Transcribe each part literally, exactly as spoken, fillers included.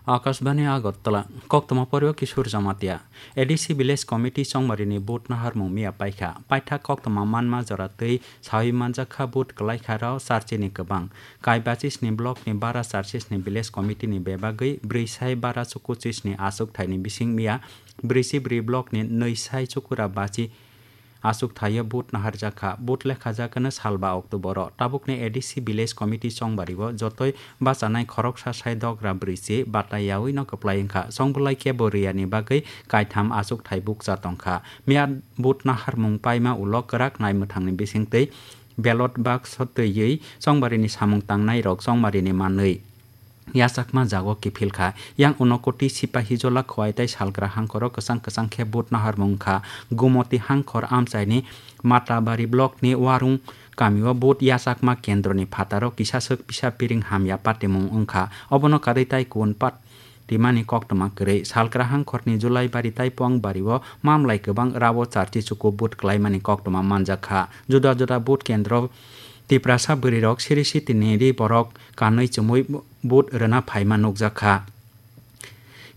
Akashbani Agartala, koktwma porio Kishore Jamatia. A D C Village Committee chongmarini vote naharmung miya paikha. Paithak koktwma manma jora twi sawi manjakha vote kwlaikha rao charchini kwbang. Kaibachi sni block ni bara charchi sni village committee ni bebagwi brwi sai bara chuku chisni achuk thaini bising miya brwi si brwi block ni nwi sai chukura bachi achuk thaio vote naharjakha. Vote lekhajakano salba October o. Tabukni A D C Village Committee chongbario jotoi bachanai khoroksa sai dogra brwi si bata yaui no kwplai wngkha. Chongbwlai kebo rwiyani bagwi kaitham achuk thai bukcha tongkha. Miya vote naharmung paima ulo kwrak nai mwthangni bisingtwi ballot box o twiwi chongbarini samung tangnai rok chongbarini manwi yachakma jago kiphil kha. Yang Unakoti Sipahijola Khowai tei Salkra Hangkhoro kwchang kwchang khe vote naharmung wngkha. Gumoti Hangkhor amchaini Matabari block ni Warung kamio vote yachakma kendroni phataro kisaswk pisa piring hamya patimung wngkha. Obono karwi tai kun pat timani koktwma kwrwi. Salkra Hangkhorni Julaibari tei Puangbario mamlai kwbang rao charchi chuku vote kwlaimani koktwma manjakha. Juda juda vote kendro Tiprasa bwrwirok siri sitini ri borok kanwi chumui vote rwna phaima nukjakha.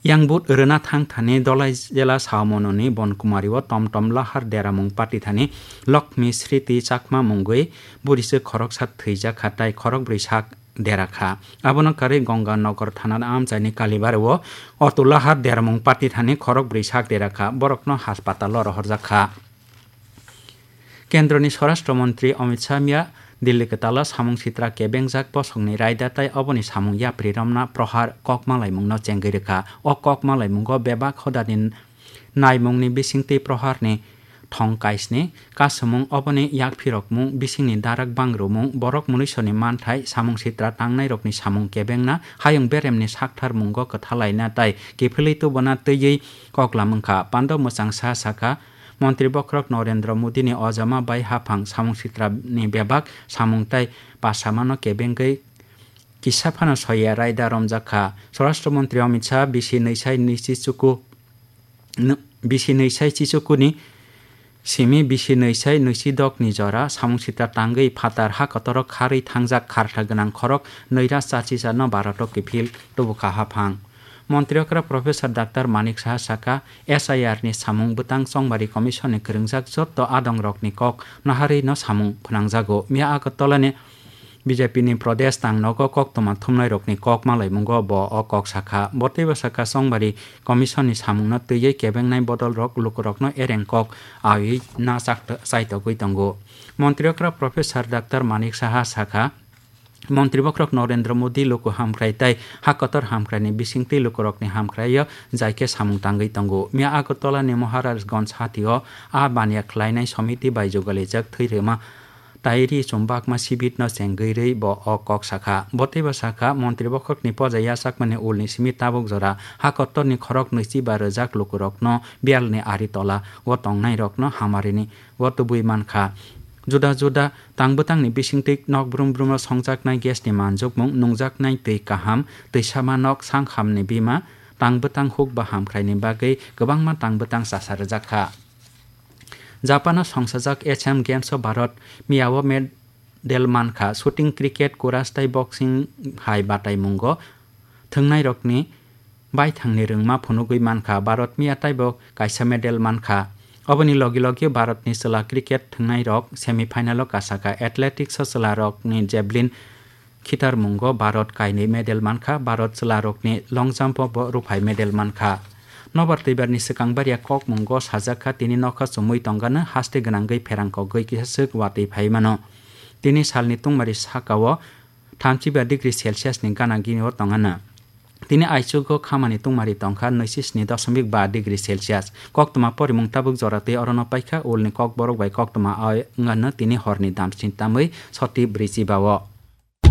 Yang vote rwna thang thani Dolai jela Saomononi Bonkumario tom tom lahar deramung pati thani Lokmi Sriti Chakma mungwi bwrwiswk khoroksa thwijakha tai khorokbrwi sak derakha. Abono karwi Gonganagar thana amchaini Kalibari o auto lahar deramung pati thani khorokbrwi sak derakha, borokno haspatalo rohorjakha. Kendroni Swarashtra Montri Amit Shah miya Delhi kwtalo samung sitra kebengjak bosongni raida tai oboni samung yapri romna prohar kok malaimungno chengwi rwkha. O kok malaimungo bebak hodani naimungni bisingtwi proharni thong kaisni kasumung, oboni yakphirokmung, bisingni darak bangrumung, borok munisoni manthai, samung sitra tangnairokni samung kebengna, hayung beremni sakthar mungo kwthalaina tai kiphilwi tubuna twiwi koklam wngkha. Pando mwchang sa sakha, Montri bokhorok Narendra Modini ojama bai haphang samung sitrani bebak samung tai pasamano kebengwi kisa phano soya raida romjak kha. Swarashtra Montri Amit Shah bisi nwi sai nwi chichuku, nw-, bisi nwi sai chichukuni simi bisi nwi sai nwi si dok ni jora samung sitra tangwi phatar ha kotoro kharwi thangjak kharkha gwnang khorok nwi ra charchi charno Bharat o kiphil tubukha haphang. Montri okra Professor Doctor Manik Saha saka, S I R ni samung bwtang chongmari commission ni kwrwngjak jotto adong rok ni kok naharwi no samung phwnangjago. Miya Agartala ni B J P ni Pradesh tang nogo koktwma thumnai rok ni kok malaimungo bo o kok sakha. Bo teibo sakha chongmari commission ni samung no twiwi kebengnai bodol rok lukurok no ereng kok awi na chak-, chaitogwi tongo. Montri okra Professor Doctor Manik Saha sakha, Montri bokhorok Narendra Modi luku hamkrai tai ha kotor hamkraini bisingtwi lukurokni hamkraio jai khe samung tangwi tongo. Miya Agartala ni Maharajganj hatio a baniya khlainai somiti bai jugalijak thwi rwma tai ri chumbakma sibit no chengwi rwi bo o kok sakha. Bo teibo sakha, Montri bokhorokni poja yachakmani ulni simi tabuk jora ha kotorni khorok nwichi ba rwjak lukurokno biyalni ari tola o tongnairokno hamarini o tubui mankha. Juda juda tang bwtangni bisingtwi nok brum brum o songjaknai gas ni manjukmung, nungjaknai twi kaham, twi sama nok, sanghamni bima, tang bwtang huk ba hamkraini bagwi kwbangma tang bwtang chasa rwjak kha. Japan o songsajak Asian Games o Bharat miya o medal mankha, shooting, cricket, kuras tei boxing hai bataimungo thwngnairokni baithangni rwngma phunugwi mankha. Bharat miya taibo kaisa medal mankha. Oboni logi logi Bharatni chwla cricket thwngnairok semi final o kasakha. Athletics o chwlarokni javelin khitarmungo Bharat kainwi medal mankha. Bharat chwlarokni long jump o bo ruphai medal mankha. Nobar twibarni swkang bariya kokmungo sajakha, tini nokha chumui tongano haste gwnangwi pherang kogwi kisa swk watwi phai mano. Tini salni tungmari sakao thamchi ba degree Celsius ni gana gini o tongano. Tini aichugo khamani tungmari tongkha nwichi sni doshomik ba degree Celsius. Koktwma porimung tabuk jora twi orono paikha, ulni kokborok bai koktwma o wngano tini horni damsni tamwi soti brwichi ba o.